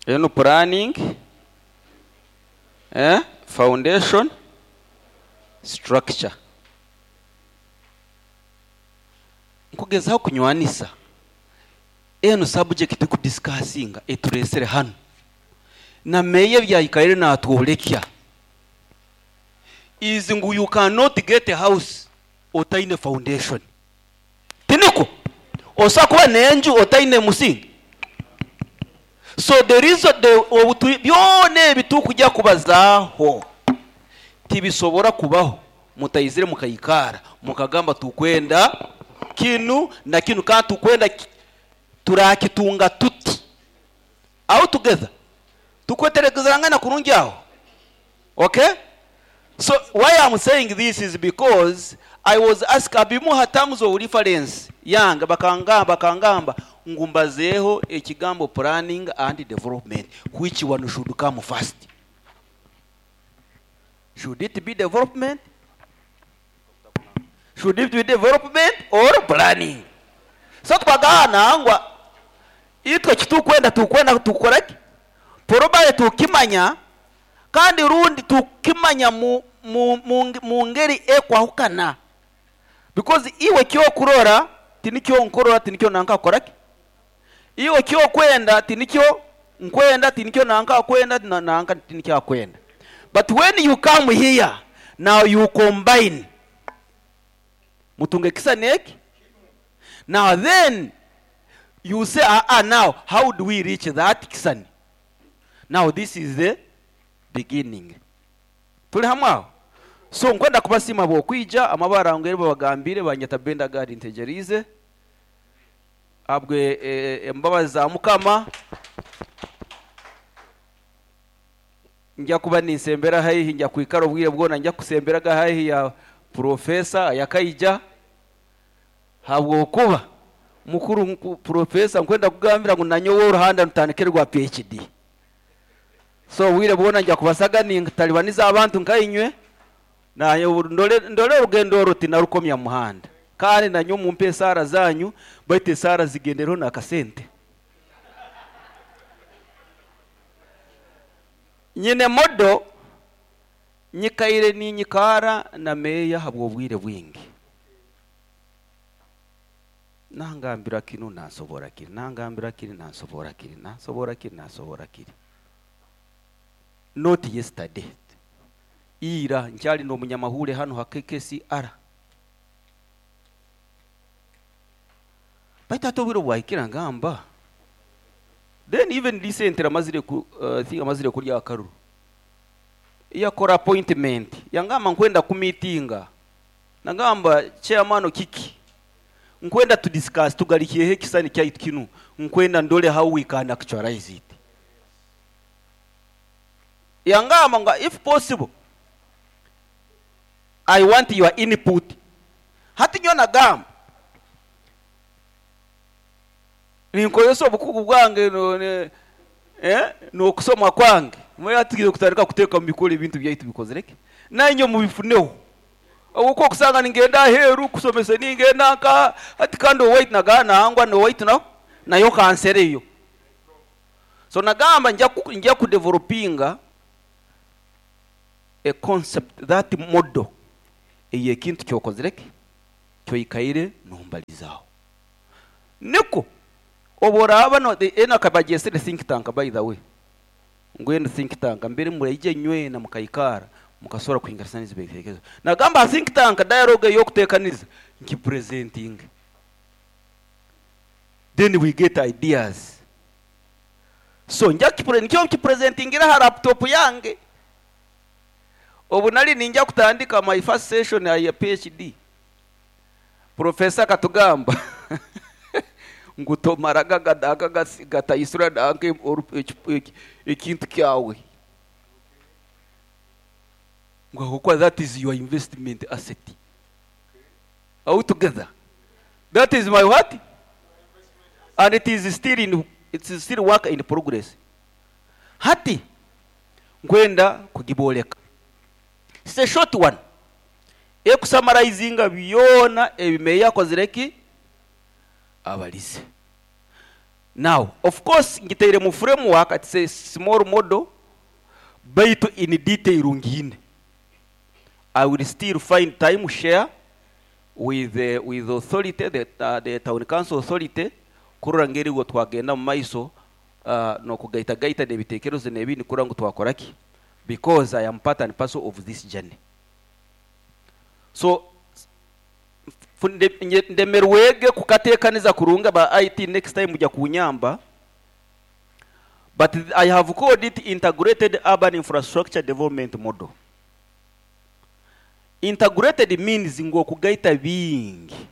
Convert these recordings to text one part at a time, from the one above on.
Enu planning, eh, foundation, structure. Nkugezaho kunywanisa enu subject tukudiscussinga eturesire hanu na meeya ebyayikaire natworekya is ngu you cannot get a house otaine foundation. Tinikwo? Osobola kuba n'enju otaine musingi? So the reason the obu turi byona ebi turikugya kubazaaho tibisobora kubaho mutaizire mukaikaara mukagamba tukwenda kinu na kinu kandi tukwenda turakitunga tuti. Are we together? Tukwetegerezangana kurungi aho? Okay? So why I'm saying this is because I was asked abimuha terms of reference yange bakangamba bakangamba ngu mbazeeho ekigambo planning and development which one should come first? Should it be development? Should it be development or planning? So twagahanangwa itwe ekitukwenda tukwenda tukora ki? Probably tukimanya kandi rundi tukimanya mu mu mu mu ngeri ekwahukana because iwe ekyokurora tinikyo nkurora tinikyo nanka akora ki? Iwe ekyokwenda tinikyo nkwenda tinikyo nanka akwenda na nanka tinikyo akwenda but when you come here now you combine mutunga ekisani eki now then you say aa now how do we reach that kisani now this is the beginning turi hamwe aho so nkwenda kubasiima ahabw'okwija amabara ngu eri babagambire banyeta Benda Gad Ntegyereize ahabwe embabazi za mukama ngya kuba ninsembera haihi ngya kwikara obwire bwona ngya kusemberaga haihi ya professor ayakaija habwokuba mukuru professor nkwenda kugambira ngu nanyowe oruhanda nutandikire rwa PhD so obwire bwona ngya kubasaga nintalibaniza abantu nkainywe nanye ndole ndole orugendo oru tinarukomya muhanda kandi nanyowe mumpe esaara zanyu baitu esaara zigendereho n'akasente. Nyine modo nyikaire ninyikaara na meeya ahabw'obwire bwingi. Nangambira kinu nansoboora kiri, nangambira kiri nansoboora kiri, nansoboora kiri nansoboora kiri. Not yesterday. Ira nkyali n'omunyamahuure hanu ha KKCR. Baitu hati obwire obwahikire ngamba then even recently amazire ku uh, I think amazire kurya akaruru yakora appointment yangamba nkwenda kumitinga nagamba chairman kiki nkwenda tu discuss tugarikyeho ekisani kyaitu kinu nkwenda ndole how we can actualize it yangamba nga if possible I want your input hati nyowe nagamba Ninkozesa obukugu bwange n'okusoma kwange. Manya hati twine kutandika kuteeka omu bikora ebintu byaitu bikozire ki? Nainye mubifuneho. Ahabw'okuba okusanga ningenda aheeru kusomesa ningenda nkaha, hati kandi owaitu nagamba nangwa n'owaitu naho nayo kansereyo. So nagamba ningya kudevelopinga a concept that model ey'ekintu kyokozire ki? Kyoikaire nombalizaaho. Nikwo obu oraaba no enu akaba agyesire think tank by the way ngu enu think tank mbere muraija inywena mukaikaara mukasobora kuhinganisaniza ebitekerezo. Nagamba ha think tank dialogue ey'okuteekaniza ngipresentinge then we get ideas. So nja nikyo nkipresentingira aha laptop yange. Obu nari ninja kutandika my first session ya PhD Professor akatugamba ngu tomaraga nanka gataisura nanka ekintu kyawe ngu ahabw'okuba that is your investment asset. Are we together? That is my what? And it is still in it is still work in progress. Hati nkwenda kugibooreka. It's a short one. Ekusamaraizinga byona ebi meeya akozire ki? Abarize. Now, of course ngitaire mu framework, it's a small model, baitu in detail ngiine. I will still find time share with the, with the authority, the, the town council authority, kurora ngu erigo twagenda mu maiso n'okugaitagaita n'ebitekerezo n'ebindi kurora ngu twakora ki, because I am part and parcel of this journey. So ndemerwege kukateekaniza kurungi aba IT next time mujya kunyamba, but I have called it integrated urban infrastructure development model. Integrated means ngu okugaita bingi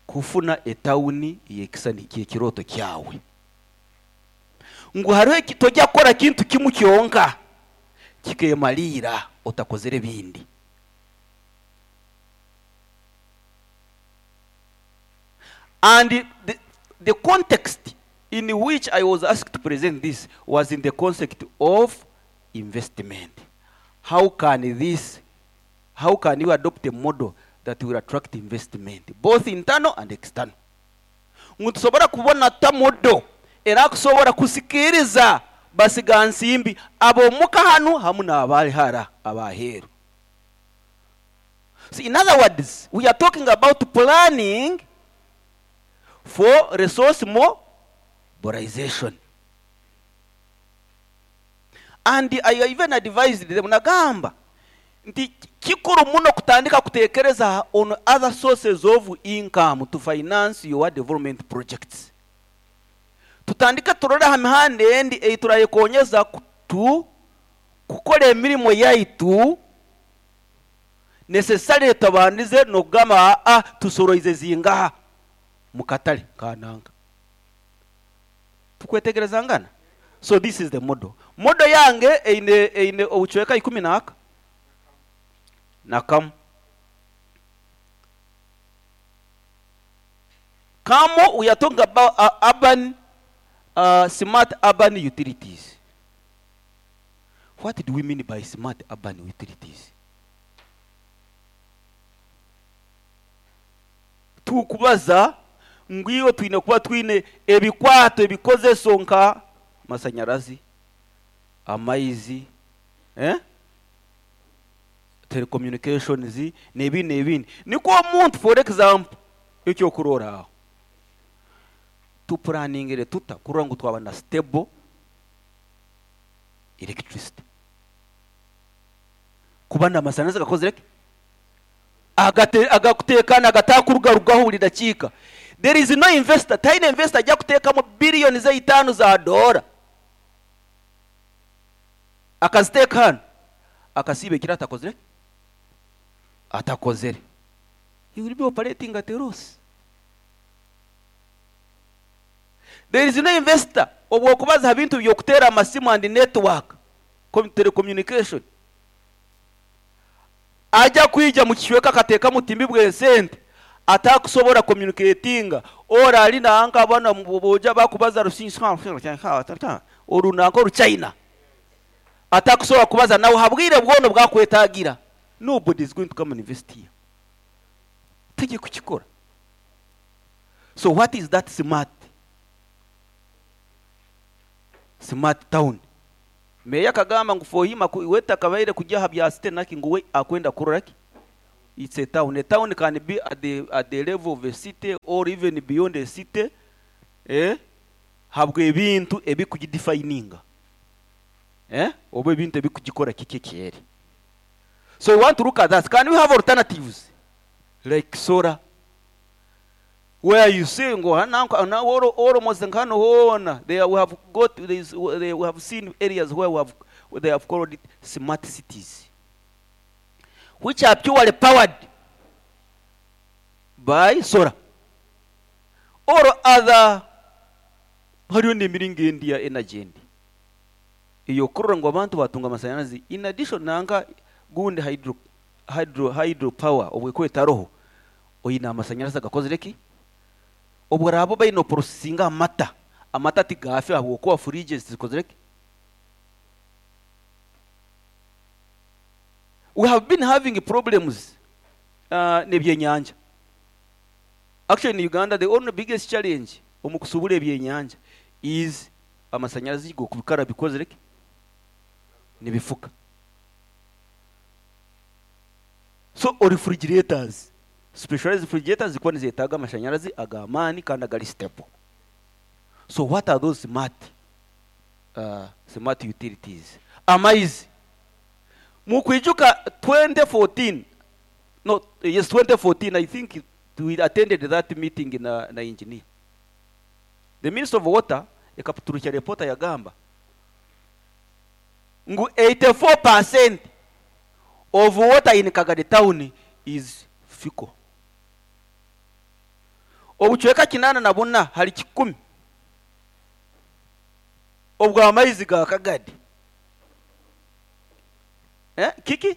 kufuna etawuni ey'ekisani ky'ekirooto kyawe. Ngu hariho eki tojya kukora kintu kimu kyonka kikemaliira otakozere ebindi. And the context in which I was asked to present this was in the concept of investment. How can this, how can you adopt a model that will attract investment, both internal and external? Ngu nitusobora kubona tuta model erakusobora kusikiriza basigansimbi ab'omuka hanu hamu n'abali hara abaheeru. So in other words, we are talking about planning for resource mobilization. And I even advised them, nagamba nti kikuru muno kutandika kutekereza on other sources of income to finance your development projects. Tutandike turore aha mihanda endi ei turayekonyeza kutu kukora emirimo yaitu necessarily tubandize n'okugamba aa tusoroize zingaha mu katare kananga. Tukwetegereza ngana? So this is the model. Model yange eine obucweka ikumi naaka na kamu. Kamu, we are talking about urban, smart urban utilities. What do we mean by smart urban utilities? Tukubaza ngu iwe twine kuba twine ebikwato ebikozeso nka masanyarazi, amaizi, telecommunications n'ebindi n'ebindi. Nikwo omuntu, for example, ekyokurora aho tuplaningire tuta kurora ngu twaba na stable electricity, kuba n'amasanyarazi gakozire ki? Agakuteekana agatakurugarugaho buri dakiika. There is no investor, tihaine investor ajya kuteekamu billioni zeitaano za doora akaziteeka hanu akasiiba ekiro atakozire ki? Atakozere. He will be operating at a loss. There is no investor obwokubaza ha bintu by'okuteera amasimu and network, telecommunication, ajya kwija mu kicweka akateekamu obutimbi bw'esente atakusobora communicatinga or ari nanka abana boja bakubaza oru nanka oru China atakusobora kubaza nawe ha bwire bwona obwakwetagira. Nobody is going to come and invest here. Tegi kukikora. So what is that smart? Smart town. Meya akagamba ngu for him we takabaire kujya aha bya city naki ngu we akwenda kurora ki? It's a town. A town can be at the level of a city or even beyond a city. Habwe ebintu ebikugidefininga. Oba ebintu ebikugikora kiki kyeri. So we want to look at that. Can we have alternatives? Like solar. Where you see ngo na almost nkano hona there we have got this, they, we have seen areas where we have, where they have called it smart cities, which are purely powered by solar or other. Hariyo n'emiringo endi ya energy endi iyo kurora ngu abantu batunga amasanyarazi in addition nanka gundi hydro power obweko etaroho oyina amasanyarazi agakozire ki? Obwo rabo baine processinga amata, amata tigafe ahabwokuba fridges zikozire ki? We have been having problems n'ebyenyanja. Actually in Uganda the only biggest challenge omu kusubura ebyenyanja Is amasanyarazi g'okubikara bikozire ki? Nibifuka. So refrigerators, specialized refrigerators zikuba nizetaaga amashanyarazi ag'amaani kandi agari stable. So what are those smart smart utilities? Amaizi. Mukwijuka 2014, no, yes 2014 I think we attended that meeting na, na engineer. The Minister of Water ekaturukya report yagamba ngu 84% of water in Kagadi town is fecal. Obucweka 84 hari 100 obw'amaizi ga Kagadi. Eh, kiki?